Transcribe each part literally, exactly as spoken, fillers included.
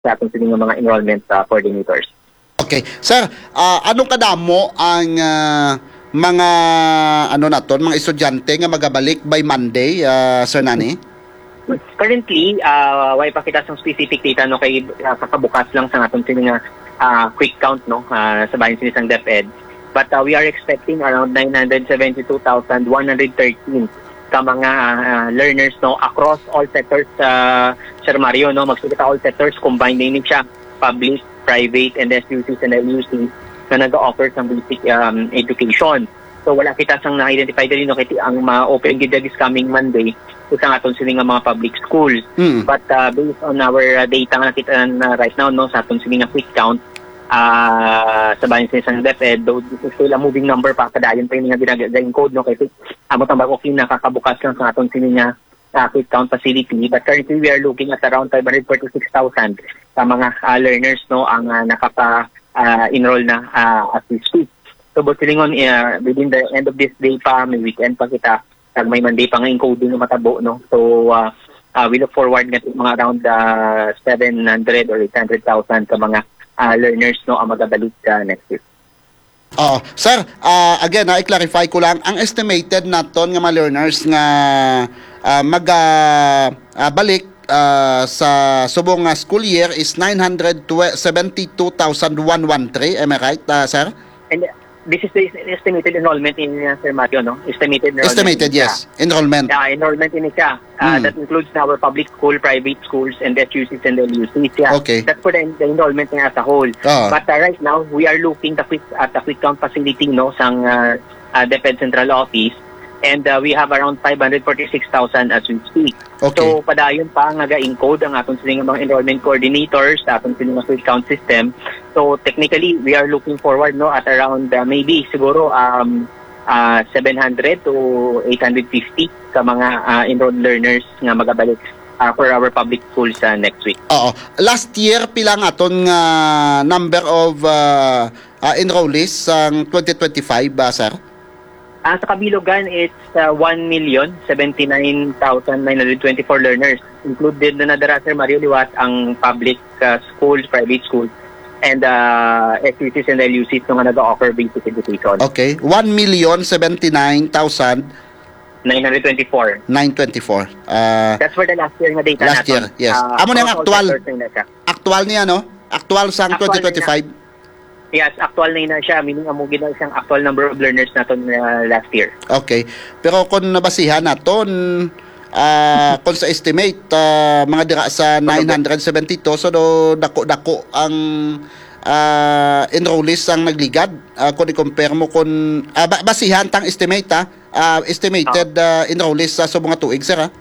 sa aton sini nga mga enrollment, ah, coordinators. Okay. Sir, ah, anong kadamo ang, ah, mga, ano naton, mga estudyante nga magabalik by Monday, ah, Sir Nani? Currently, ah, way pa kita sang specific data, no, kay, ah, kakabukas lang sa aton sini nga, ah, quick count, no, ah, sa bahin sini sang DepEd. But, ah, we are expecting around nine hundred seventy-two thousand one hundred thirteen ka mga, ah, learners, no, across all sectors, ah, Sir Mario, no, magsige ta all sectors, combined na ini siya, public, private, and S U Cs and L U Cs na nag-offer sang basic, um, education. So, wala kita sang na-identify diri, no, kay ang ma-open gid this coming Monday is ang aton sini nga mga public schools. Mm. But, uh, based on our, uh, data nga nakita na right now, no, sa aton sini nga quick count, uh, sa bahin sini sang DepEd, though this is still a moving number pa, padayon pa ini nga ginaga-encode, no, kay amo tang bag-o kinakakabukas lang sa aton sini nga, uh, quick count facility. But currently, we are looking at around five hundred forty-six thousand sa mga, uh, learners, no, ang, uh, nakapa, uh, enroll na, uh, as we speak. So, buot silingon, uh, within the end of this day pa, may weekend pa kita, kag may Monday pa nga encoding nga matabo, no? So, ah, ah, we look forward nga mga around, ah, seven hundred or eight hundred thousand ka mga, ah, learners, no, ang magabalik, ah, next week. Oo. Sir, ah, again, ha, i-clarify ko lang, ang estimated naton nga mga learners nga, ah, maga, ah, balik, ah, sa subong nga school year is nine hundred seventy-two thousand one hundred thirteen. Am I right, ah, sir? And this is the estimated enrollment in, uh, Sir Mario, no? Estimated enrollment. Estimated, yes. Enrollment. Yeah, enrollment ini siya. Uh, Hmm. That includes our public school, private schools, and S U Cs and L U Cs. Yeah. Okay. That's for the, the enrollment niya as a whole. Ah. But, uh, right now, we are looking the quick, at the quick count facility, no, sang, uh, uh, DepEd Central Office. And, uh, we have around five hundred forty-six thousand as we speak. Okay. So, padayon pa nga ga-encode ang aton sini nga mga enrollment coordinators sa aton sini nga quick count system. So, technically, we are looking forward, no, at around, uh, maybe siguro, um, uh, seven hundred to eight hundred fifty ka mga, uh, enrolled learners nga magabalik, uh, for our public schools, uh, next week. Oo. Last year, pila ang aton nga number of, uh, uh, enrollees sang twenty twenty-five, uh, sir? Ah, sa kabilugan, it's, ah, one million seventy-nine thousand nine hundred twenty-four learners. Included na na dira, Sir Mario, liwat ang public, ah, schools, private schools, and, ah, S U Cs and L U Cs nga nag-offer basic education. Okay. One million seventy-nine thousand nine hundred twenty-four. Nine twenty-four. Ah, that's for the last year nga data naton. Last year, yes. Ah, amo na ang actual. Actual niya, no? Actual sang twenty twenty-five. Yes, actual na yun na siya. Meaning, amo gid na siyang actual number of learners naton, uh, last year. Okay. Pero kung nabasihan naton, ah, kung sa estimate, ah, mga dira sa nine hundred seventy-two, so do, dako-dako ang, ah, enrollees ang nagligad. Ah, kung i-compare mo kung, ah, ba-, basihan tang estimate, ah, ah, estimated, ah, enrollees sa subong nga tuig, sir, ah?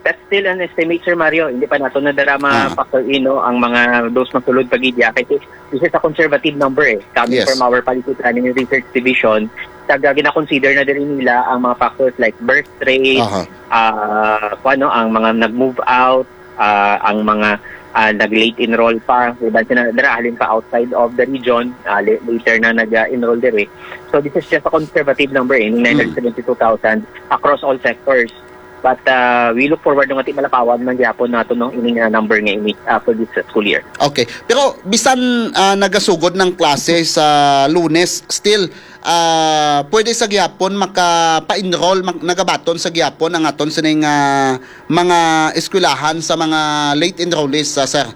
That's still an estimate, Sir Mario. Hindi pa nato na dara ma-factor in, no, ang mga those masulod pa gid ya. Kasi this is a conservative number, eh. Coming from our policy planning and research division, taga gina-consider na diri nila ang mga factors like birth rate, ah, kuwan, no, ang mga nag-move out, ah, ang mga, ah, nag-late enroll pa, iban sila dira halin pa outside of the region, ah, la-, later na nag-enroll diri. So this is just a conservative number, eh, nine hundred seventy-two thousand across all sectors. But, uh, we look forward nga ti malapawan man gyapon nato, no, ining, uh, number nga ini, uh, for this, uh, school year. Okay. Pero bisan, uh, nagasugod ng klase sa Lunes, still, uh, pwede sa gyapon makapa-enroll, mag-, nagabaton sa gyapon ang aton sining, uh, mga eskwelahan sa mga late enrollees, uh, sir?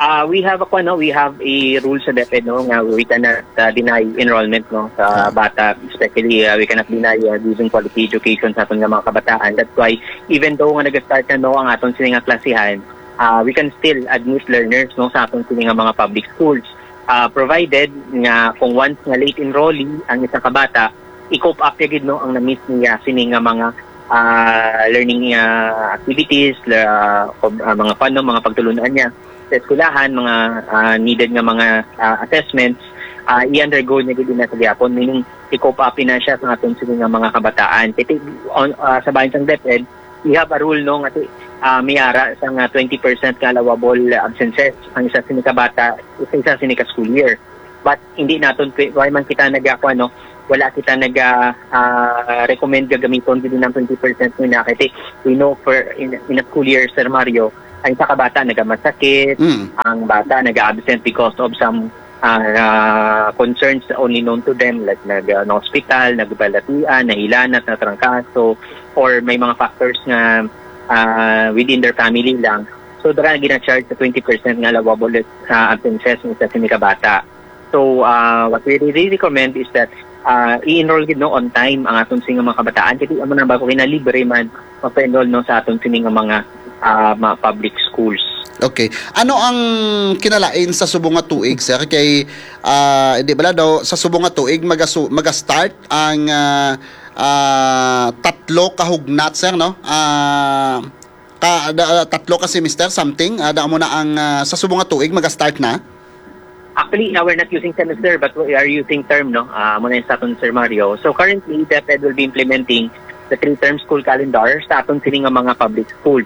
Ah, we have a, ano, we have a rule sa DepEd, no, nga we cannot, uh, deny enrollment, no, sa bata, especially, uh, we cannot deny, uh, giving quality education sa aton nga mga kabataan. That's why, even though nga nag-start na, no, ang aton sini nga klasihan, uh, we can still admit learners, no, sa aton sini nga mga public schools. Uh, provided nga kung once nga late enrollee ang isang kabata, i-cope up ya gid, no, ang na-miss niya sini nga mga, uh, learning, uh, activities, la-, uh, mga, ano, mga pagtulun-an niya sa eskwelahan, mga, ah, needed nga mga, ah, assessments, ah, i-undergo niya gid na sa gihapon, meaning i-cope up na siya sa aton sini nga mga kabataan. Kay ti-, on, ah, sa bahin sang DepEd, we have a rule, no, nga ti-, ah, may ara sa nga twenty percent nga allowable absences ang isa sini ka bata sa isa sini ka school year. But hindi naton pwe-, why man kita nag-, ah, kuwan, no, wala kita nag, ah, ah, recommend gagamiton gid ang twenty percent nila. Kasi we know for in, in a school year, Sir Mario, Ang isa ka bata nagamasakit, Mm. ang bata nag-absent because of some, ah, ah, concerns only known to them, like nag-, ah, hospital, nagbalatian, nahilanat, natrangkaso, or may mga factors nga, ah, within their family lang. So, dira gina-charge sa twenty percent nga allowable, ah, absences sa sini ka bata. So, ah, what we really recommend is that, ah, i-enroll gid, no, on time ang aton sini nga mga kabataan. Kay amo na ba ko kinalibre man magpa-enroll, no, sa aton sini nga mga, ah, mga public schools. Okay. Ano ang kinalain sa subong nga tuig, sir? Kay, ah, di bala daw, sa subong nga tuig, magasu-, maga-start ang, ah, ah, tatlo ka hugnat, sir, no? Ah, ka, da, tatlo ka semester, something. Ah, da mo na ang, ah, sa subong nga tuig, maga-start na? Actually, uh, we're not using semester, but we are using term, no? Ah, muna yung sa aton, Sir Mario. So, currently, DepEd will be implementing the three-term school calendar sa aton sini nga mga public schools.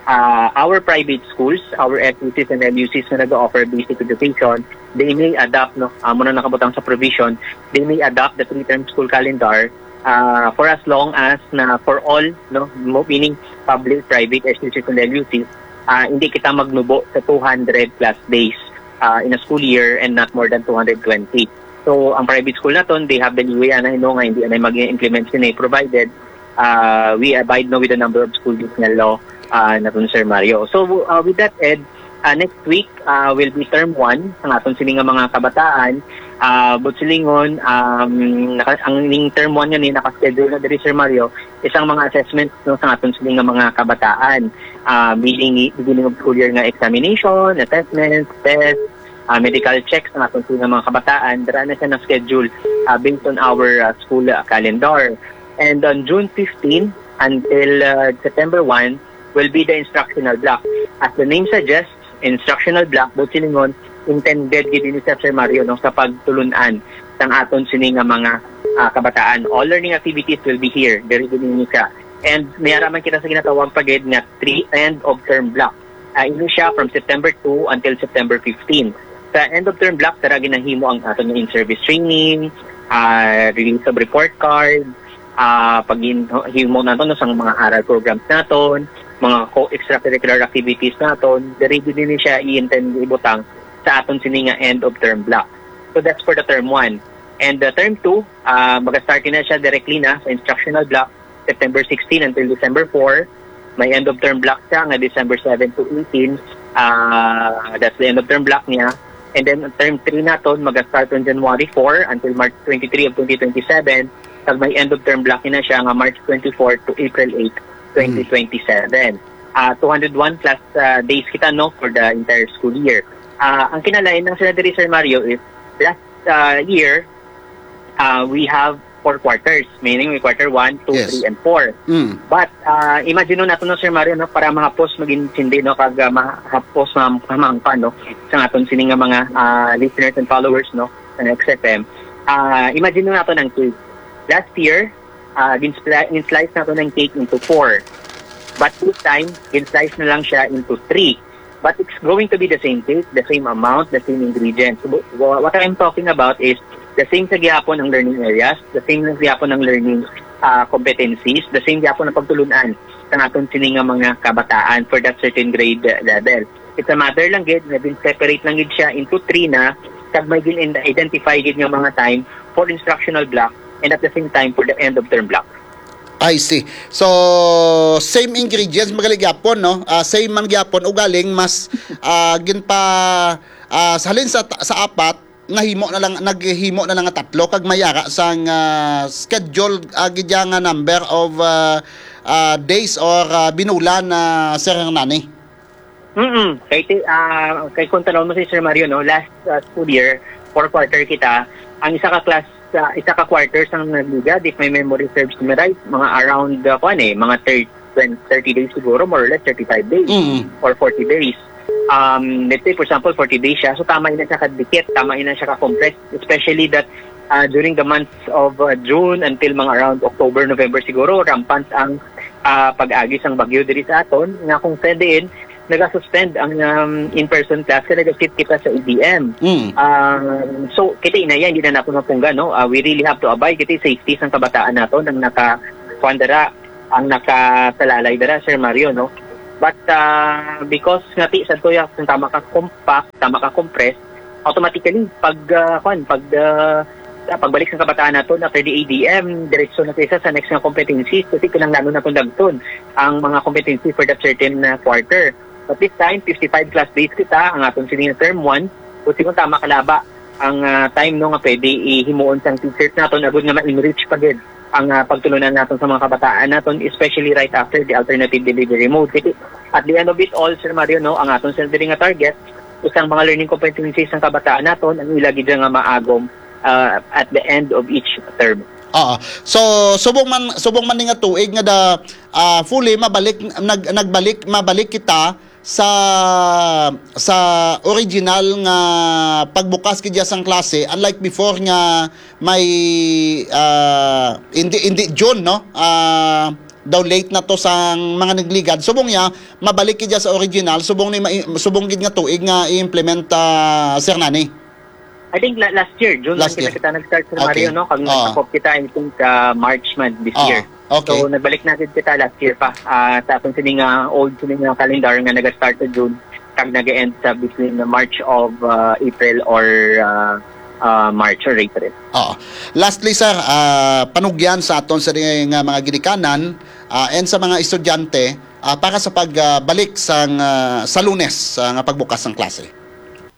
Ah, our private schools, our S U Cs and L U Cs na nag-offer basic education, they may adopt, no? Ah, muna nakabutang sa provision, they may adopt the three-term school calendar, ah, for as long as na for all, no? Mo-, meaning public, private, S U Cs and L U Cs, ah, hindi kita magnubo sa two hundred plus days, ah, in a school year and not more than two hundred twenty. So, ang private school naton, they have the leeway, ana, no, nga hindi na mag-implement sini, provided, ah, we abide, no, with the number of school days nga law, ah, naton, Sir Mario. So, ah, with that, Ed, ah, next week, ah, will be term one sa aton sini nga mga kabataan. Ah, but silingon, um, naka-, ang ning term one nga ni naka-schedule na diri, Sir Mario, isang mga assessment, no, sa aton sini nga mga kabataan. Ah, beginning, beginning of school year nga examination, assessment, test, ah, medical checks sa aton sini nga mga kabataan. Dira na siya na-schedule, ah, based on our, ah, school, ah, calendar. And on June fifteen until, ah, September one will be the instructional block. As the name suggests, instructional block, but silingon, intended gid ini sa, Sir Mario, no, sa pagtulun-an sang aton sini nga mga, ah, kabataan. All learning activities will be here. Diri gid ini siya. And may ara man kita sa ginatawag pa gid nga three end of term block. Ah, ini siya from September two until September fifteen. Sa end of term block, dira ginahimo ang aton nga in-service training, ah, release of report card, ah, paghimo naton, no, sang mga aral programs naton, mga co-, extracurricular activities naton. Diri gid ni siya i-intend ibutang sa aton sini nga end of term block. So that's for the term one. And the term two, ah, maga-start na siya directly na sa instructional block, September sixteen until December four. May end of term block siya nga December seven to eighteen. Ah, that's the end of term block niya. And then term three naton maga-start on January four until March twenty-three of twenty twenty-seven. Kag may end of term block na siya nga March twenty-four to April eight, twenty twenty-seven. Ah, two hundred one plus, ah, days kita, no, for the entire school year. Ah, ang kinalain lang sila diri, Sir Mario, is last, ah, year, ah, we have four quarters, meaning may quarter one, two, Yes. three, and four. Mm. But, ah, imagine nato, no, Sir Mario, no, para mahapos magintindi, no, kag, ah, mahapos ma-, mamangpa, no, sa aton sini nga mga, ah, listeners and followers, no, sa X F M. Ah, imagine nato ang cake. Last year, ah, gin-spli-, gin-slice nato ang cake into four. But this time, gin-slice na lang siya into three. But it's going to be the same cake, the same amount, the same ingredients. So, wha-, what I'm talking about is the same sa gihapon ang learning areas, the same sa gihapon ang learning, ah, competencies, the same gihapon ang pagtulun-an sa aton sini nga mga kabataan for that certain grade, uh, level. It's a matter lang gid nga gin-separate lang gid siya into three na, kag may gin-identify gid nga mga time for instructional block and at the same time for the end of term block. I see. So, same ingredients, magaling gyapon, no? Ah, same man gyapon, ugaling mas, ah, ginpa, ah, sa halin sa, sa apat, nahimo na lang, naghimo na lang nga tatlo, kag may ara sang, ah, schedule, ah, gid ya nga number of, ah, ah, days or, ah, binulan na, Sir Hernani. Mm-mm. Kay ti-, ah, kay kung tanaw mo si Sir Mario, no, last, ah, school year, four quarter kita, ang isa ka class, ah, isa ka quarter sang nagligad, if my memory serves me right, mga around, ah, kuwan eh, mga thirty, twenty, thirty days siguro, more or less thirty-five days Mm. or forty days. Um, let's say, for example, forty days siya, so tama na siya kadikit, tama na siya ka-compressed, especially that, ah, during the months of, ah, June until mga around October, November siguro, rampant ang, ah, pag-agi sang bagyo diri sa aton, nga kung pwede, nagasuspend ang, um, in-person class kay nag-shift kita sa E D M. Mm. Um, so, kita na yan, hindi na nato mapunggan, no? Ah, we really have to abide, kita safety sang kabataan nato nang naka, kuwan dira, ang nakasalalay dira, Sir Mario, no? But, ah, because nga ti sa tuya, kung tama ka compact, tama ka compress, automatically, pag, ah, kwan, pag, ah, ah, pagbalik sa kabataan naton after the A D M, diretso na kita sa next nga competencies kasi kinahanglan naton dagton ang mga competency for that certain, ah, quarter. But this time, fifty-five class days kita, ang aton sini nga term one, kung tama kalaba ang, ah, time, no, nga pwede ihimuon sang teachers naton agud nga ma-enrich pa gid ang, ah, pagtulunan naton sa mga kabataan naton, especially right after the alternative delivery mode. Kasi at the end of it all, Sir Mario, no, ang aton, Sir, diri nga target, isang mga learning competencies sang kabataan naton, ang ila gid nga maagom, ah, at the end of each term. Oo. So, subong man, subong man ni nga tuig nga da, ah, fully mabalik, nag-, nagbalik, mabalik kita sa, sa original nga pagbukas gid sang klase, unlike before nga may, ah, hindi, hindi June, no? Ah, daw late na to sang mga nagligad. Subong niya, mabalik gid sa original, subong ni mai-, subong gid nga tuig nga i-implement, ah, Sir Nani. I think la-, last year, June Last lang kita, year. kita nag-start sa Okay. Mario, no? Kag Oo. nagkakop kita, I think, ah, March man this Oo. year. Okay. So, nagbalik na gid kita last year pa. Ah, sa aton sini nga old sini nga calendar nga nag-start sa June, kag nag-end sa between the March of, ah, April or, ah, ah, March or April. Oo. Lastly, sir, ah, panugyan sa aton sini nga mga ginikanan, ah, and sa mga estudyante, ah, para sa pagbalik sang, ah, sa Lunes, ah, nga pagbukas sang klase.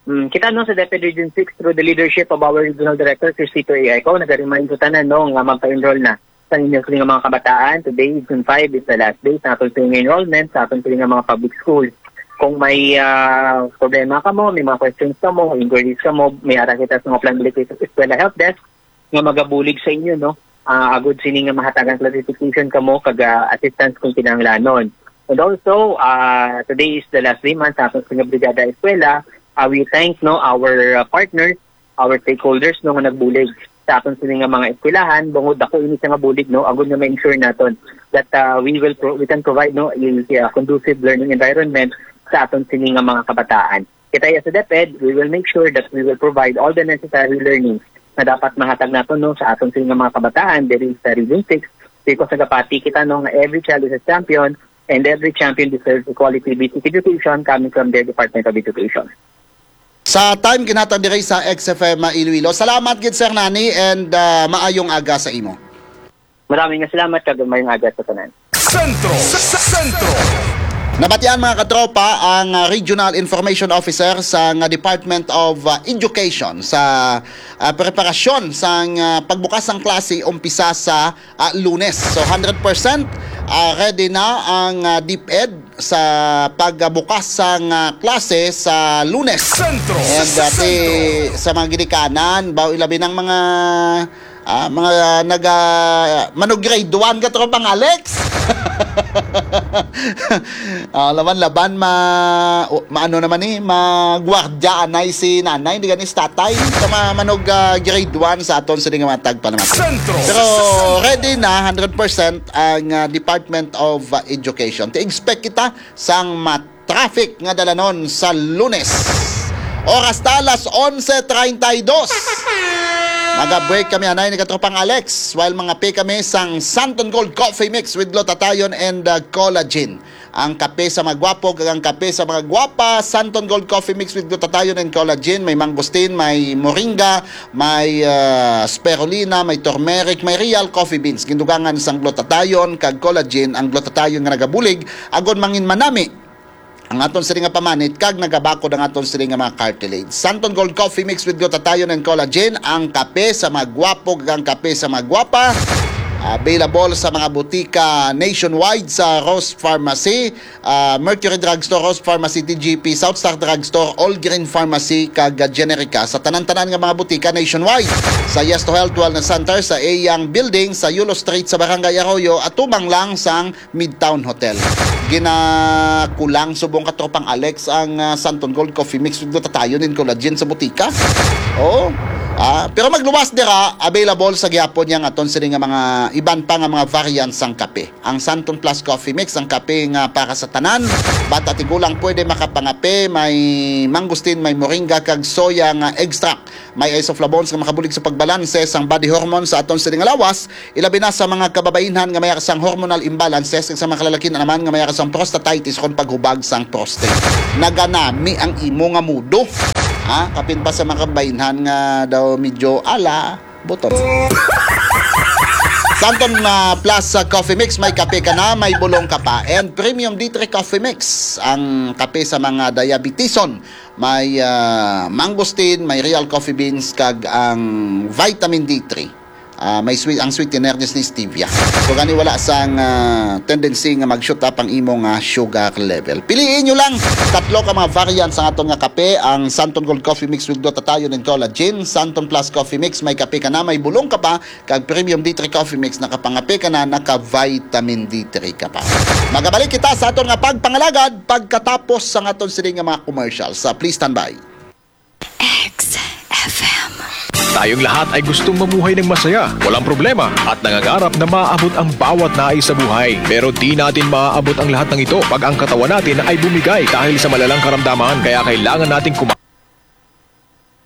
Mm, kita, no, sa DepEd Region six, through the leadership of our Regional Director, Cristito A. Eco, nag-remind ko tanan, no, nga magpa-enroll na sa inyo sini nga mga kabataan. Today, June five, is the last day sa aton sini nga enrollment sa aton sini nga mga public schools. Kung may, ah, problema kamo, may mga questions kamo, inquiries kamo, may ara kita sa mga Plan Balik Eskwela Help Desk nga magabulig sa inyo, no? Ah, agud sini nga mahatagan clarification kamo kag, ah, assistance kung kinahanglanon. And also, ah, today is the last day man sa aton sini nga Brigada Eskwela. Ah, we thank, no, our, ah, partners, our stakeholders, no, nga nagbulig sa aton sini nga mga eskwelahan, bangod ako ini siya nga bulig, no, agud nga ma-ensure naton that, ah, we will pro-, we can provide, no, a, a conducive learning environment sa aton sini nga mga kabataan. Kita ya sa DepEd, we will make sure that we will provide all the necessary learnings na dapat mahatag naton, no, sa aton sini nga mga kabataan diri sa Region six, because nagapati kita, no, nga every child is a champion and every champion deserves a quality basic education coming from their Department of Education. Sa time ginhatag diri sa X F M Iloilo. Salamat gid, Sir Nani, and, ah, maayong aga sa imo. Maraming nga salamat kag maayong aga sa tanan. Sentro, sa, sa Sentro. Nabatian, mga katropa, ang, ah, Regional Information Officer sa nga Department of, ah, Education sa, ah, preparasyon sang, ah, pagbukas sang klase umpisa sa, ah, Lunes. So, hundred percent, ah, ready na ang, ah, DepEd sa pagbukas sang, ah, klase sa Lunes. Sentro, And, sa ah, ti-, Sentro. sa mga ginikanan, baw ilabi ng mga, ah, mga naga, manog grade one ka, tropang Alex. Ah, laban-laban, ma-, o, maano naman ni, magwardya anay si nanay, di gani si tatay. Sa mga manog, ah, grade one sa aton sa nga mga tagpanamati. Sentro. Pero ready na, hundred percent ang, ah, Department of, ah, Education. Ti-expect kita sang ma-traffic nga dalanon sa Lunes. Oras ta, alas onse treinta y dos. Mag-break kami, anay, ni katropang Alex, while mangape kami sang Santon Gold Coffee Mix with glutathione and, uh, collagen. Ang kape sa mga gwapo kag ang kape sa mga gwapa, Santon Gold Coffee Mix with glutathione and collagen. May mangosteen, may moringa, may, uh, spirulina, may turmeric, may real coffee beans. Gindugangan sang glutathione kag collagen ang glutathione nga nagabulig, agon mangin manami ang aton sini nga pamanit kag nagabakod ang aton sini nga mga cartilage. Santon Gold Coffee Mix with glutathione and collagen, ang kape sa mga gwapo kag ang kape sa mga gwapa. Available sa mga butika nationwide, sa Rose Pharmacy, ah, Mercury Drugstore, Rose Pharmacy, T G P, South Star Drugstore, All Green Pharmacy, kag Generica. Sa tanan-tanan nga mga butika nationwide. Sa Yes to Health Wellness Center, sa Eyang Building, sa Yulo Street, sa Barangay Arroyo, at tumang lang sang Midtown Hotel. Ginakulang subong katropang Alex ang, ah, Santon Gold Coffee Mix with glutathione and collagen sa butika. Oo. Ah, pero magluwas dira, available sa gihapon niya nga aton sini nga mga iban pa nga mga variants sang kape. Ang Santon Plus Coffee Mix, ang kape nga para sa tanan, bata, tigulang, pwede makapangape, may mangosteen, may moringa, kag soya nga extract. May isoflavones nga makabulig sa pagbalanse sang body hormone sa aton sini nga lawas, ilabi na sa mga kababainhan nga may sang hormonal imbalances, kag sa mga kalalakin naman nga may sang prostatitis kon paghubag sang prostate. Naganami ang imo nga mudo. Ha? Kapin pa sa mga kababainhan nga daw medyo ala, buto. Santon na Plus sa Coffee Mix, may kape ka na, may bulong ka pa. And Premium D three Coffee Mix, ang kape sa mga diabetison. May, ah, mangosteen, may real coffee beans, kag ang vitamin D three. Ah, may sweet, ang sweetener ni stevia. So, gani wala sang, ah, tendency nga mag-shoot up ang imo nga sugar level. Piliin nyo lang tatlo ka mga variants ang aton nga kape, ang Santon Gold Coffee Mix with Glutathione and Collagen, Santon Plus Coffee Mix, may kape ka na, may bulong ka pa, kag Premium D three Coffee Mix, nakapangape ka na, naka-vitamin D three ka pa. Magabalik kita sa aton nga pagpangalagad pagkatapos sang aton sini nga mga commercials. Ah, please stand by. X F M. Tayong lahat ay gustong mamuhay ng masaya, walang problema, at nangangarap na maabot ang bawat nais sa buhay. Pero di natin maaabot ang lahat ng ito pag ang katawan natin ay bumigay dahil sa malalang karamdaman. Kaya kailangan natin kumain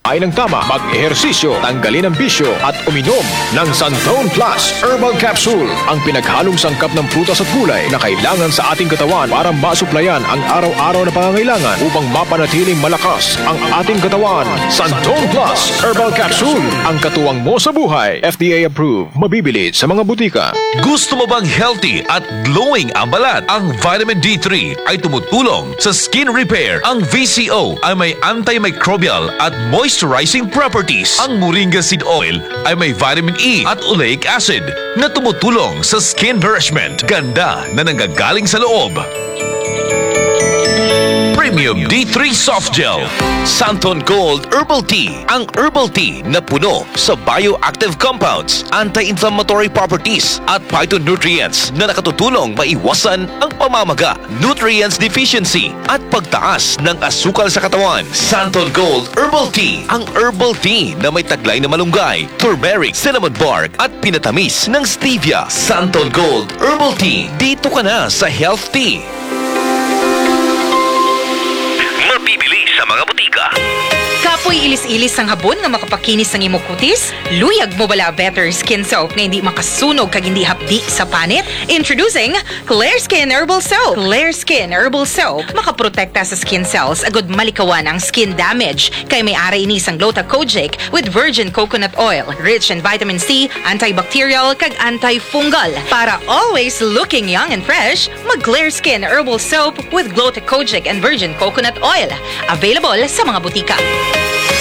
ng tama, mag-ehersisyo, tanggalin ang bisyo, at uminom ng Santon Plus Herbal Capsule, ang pinaghalong sangkap ng prutas at gulay na kailangan sa ating katawan para masuplayan ang araw-araw na pangangailangan upang mapanatiling malakas ang ating katawan. Santon Plus Herbal Capsule, ang katuwang mo sa buhay. F D A approved, mabibili sa mga butika. Gusto mo bang healthy at glowing ang balat? Ang vitamin D three ay tumutulong sa skin repair. Ang V C O ay may antimicrobial at moisturizing properties. Ang moringa seed oil ay may vitamin E at oleic acid na tumutulong sa skin nourishment. Ganda na nanggagaling sa loob. Premium D three Soft Gel, Santon Gold Herbal Tea, ang herbal tea na puno sa bioactive compounds, anti-inflammatory properties, at phytonutrients na nakatutulong maiwasan ang pamamaga, nutrients deficiency, at pagtaas ng asukal sa katawan. Santon Gold Herbal Tea, ang herbal tea na may taglay na malunggay, turmeric, cinnamon bark, at pinatamis ng stevia. Santon Gold Herbal Tea, dito ka na sa health tea. Mabibili sa mga butika. Kapoy ilis-ilis sang habon nga makapakinis sang imo kutis? Luyag mo bala better skin soap nga hindi makasunog kag hindi hapdi sa panit? Introducing Clear Skin Herbal Soap. Clear Skin Herbal Soap makaprotekta sa skin cells agud malikawan ang skin damage, kay may ara ini sang Gluta Kojic with virgin coconut oil, rich in vitamin C, antibacterial, kag antifungal. Para always looking young and fresh, mag Clear Skin Herbal Soap with Gluta Kojic and virgin coconut oil. Available sa mga butika.